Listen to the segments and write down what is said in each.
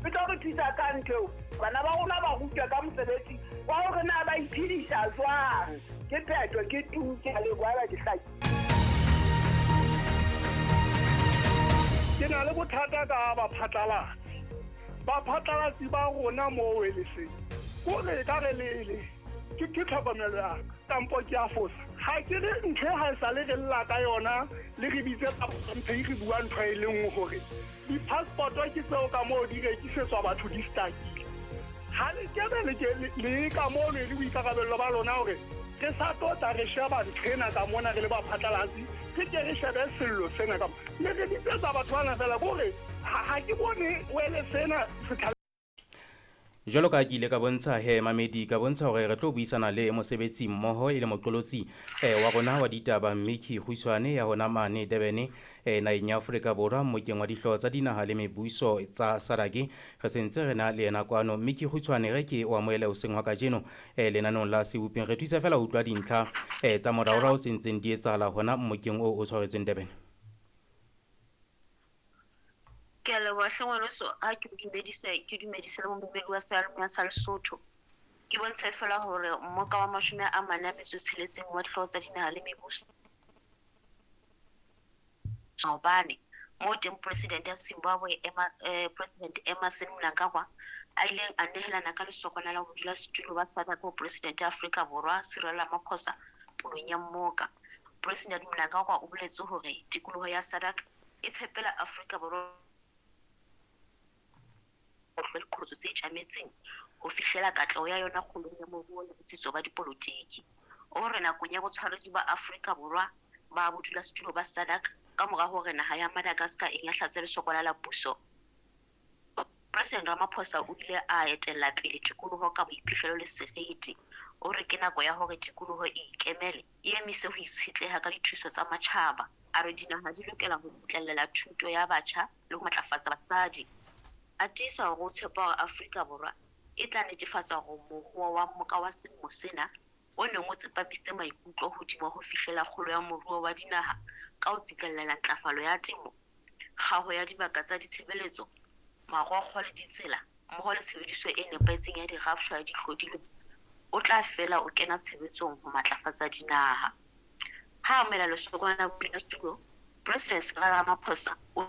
E tlo re thusa ka ntho eo. Bana ba rona ba rutwa ka mosebetsi wa hore na ba iphedisa jwang. Ke phetho, ke tu, ke a leboha haeba ke hlakile. Ke na le bothata ka baphatlalatsi. Baphatlalatsi ba rona moo Weleseng, kore e ka re le ke ke tlhokomelo ya ka kampo ke a fosa. Ha ke re ntho e ha e sale re lla ka yona, le re bitse mphe re bua ntho e le nngwe hore di-passport ke tseo ka moo di rekisetswa batho di stakile. Ha le kebe le ke le ka moo le boikarabello ba lona hore re sa tlo tla re sheba ntho ena ka mona re le baphatlalatsi, re ke re shebe sello sena ka le re bitsetsa batho bana fela kore ha ke bone wele sena se. Jwalo ka ke ile ka bontsha he mamedi, ka bontsha hore re tlo buisana le mosebetsi mmoho e le moqolotsi wa rona wa ditaba Micki Kgutshwane ya hona mane Durban, naheng ya Afrika Borwa, mmokeng wa dihlooho tsa dinaha le mebuso tsa SADC. Re sentse re na le yena kwano. Micki Kgutshwane, re ke o amohele hoseng hwa kajeno lenaneong la Seboping. Re thusa fela ho utlwa dintlha tsa moraorao tse ntseng di etsahala hona mmokeng oo o tshwaretsweng Durban. Ke a leboha hle ngwaneso, ha ke o dumedise, ke dumedise le momamedi wa seyalemoya sa Lesotho. Ke bontshe fela hore mmoka wa 46 wa dihlooho tsa dinaha le mebuso maobane moo teng President ya Zimbabwe President Emmerson Mnangagwa a ileng a nehelana ka lesokwana la bodulasetulo ba SADC ho President ya Afrika Borwa Cyril Ramaphosa pulong ya mmoka. President Mnangagwa o boletse hore tikoloho ya SADC e tshepela Afrika Borwa ho hlwa diqholotso tse tjametseng ho fihlela katleho ya yona kgolong ya moruo le botsitso ba dipolotiki. O re nakong ya botshwaredi ba Afrika Borwa ba bodulasetulo ba SADC ka mora hore naha ya Madagascar e nyahlatse lesokwana la puso, President Ramaphosa o ile a etella pele tikoloho ka boiphihlelo le seriti. O re ke nako ya hore tikoloho e ikemele, e emise ho itshetleha ka dithuso tsa matjhaba. A re dinaha di lokela ho tsetlela thuto ya batjha le ho matlafatsa basadi. A tiisa hore o tshepa hore Afrika Borwa e tla netefatsa hore mohoa wa mmoka wa selemo sena o neng o tsepamisitse maikutlo hodima ho fihlela kgolo ya moruo wa dinaha ka ho tsetlela ntlafalo ya temo, kgaho ya dibaka tsa ditshebeletso, marokgo le ditsela, mmoho le tshebediso e nepahetseng ya dirafshwa le dihlodilweng, o tla fela o kena tshebetsong ho matlafatsa dinaha. Ha a amohela lesokwana la bodulasetulo, President Cyril Ramaphosa o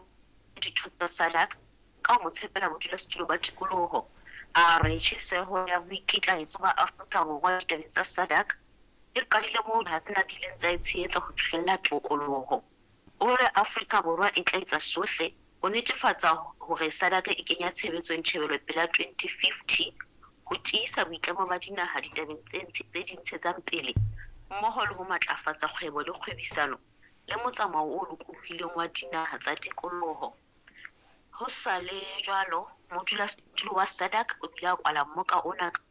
ditho tsa SADC ka ho mo tshepela bodulasetulo ba tikoloho. A re tjheseho ya boikitlaetso ba Afrika Borwa ditabeng tsa SADC e qadile moo dinaha tsena di ileng tsa e tshehetsa ho fihlella tokoloho. O re Afrika Borwa e tla etsa sohle ho netefatsa hore SADC e kenya tshebetsong tjhebelopele ya 2050 ho tiisa boitlamo ba dinaha ditabeng tse di ntshetsang pele mmoho le ho matlafatsa kgwebo le kgwebisano le motsamao o lokolohileng wa dinaha tsa tikoloho. Ho sa le jwalo, modulasetulo wa SADC o bile a kwala mmoka ona ka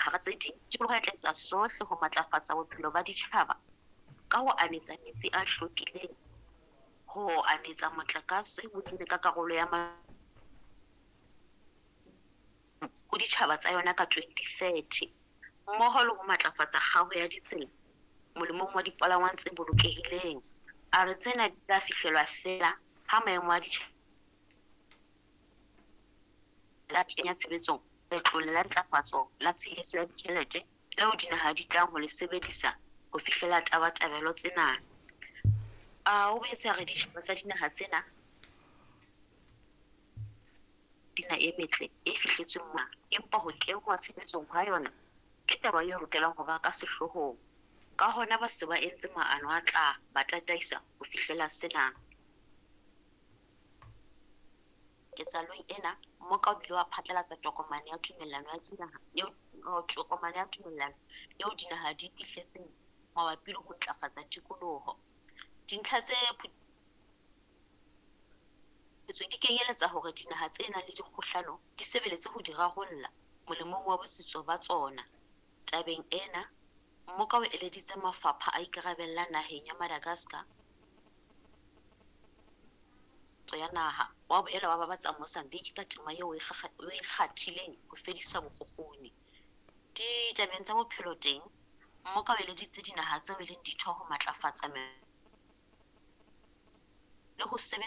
hara tse ding, tikoloho e tla etsa sohle ho matlafatsa bophelo ba ditjhaba ka ho anetsa metsi a hlwekileng, ho anetsa motlakase ho kene ka karolo ya ho ditjhaba tsa yona ka 2030, mmoho le ho matlafatsa kgaho ya ditsela molemong wa dipalangwang tse bolokehileng. A re tsena di tla fihlelwa feela ha maemo a ditjhelete a kenya tshebetsong letlole la ntlafatso la tshehetso ya ditjhelete leo dinaha di tlang ho le sebedisa ho fihlela tabatabelo tsena. A o boetse a re ditjhaba tsa dinaha tsena dina e metle e fihletsweng mona, empa ho kenngwa tshebetsong ha yona ke taba e lokelang ho ba ka sehloohong. Ka hona ba se ba entse maano a tla ba tataisa ho fihlela sena. Ketsahalong ena, mmoka o bile wa phatlalatsa tokomane ya tumellano ya dinaha eo tokomane ya tumellano eo dinaha di fihletseng mabapi le ho ntlafatsa tikoloho. Dintlha tse phuthetsweng di kenyeletsa hore dinaha tse nang le dikgohlano di sebeletse ho di rarolla molemong wa botsitso ba tsona. Tabeng ena, mmoka o eleditse mafapha a ikarabellang naheng ya Madagascar ya naha, wa boela wa babatsa Mozambique ka tema eo e kgathileng ho fedisa bokgukguni. Ditabeng tsa bophelo teng, mmoka o eleditse dinaha tseo e leng ditho ho matlafatsa le ho sebetsa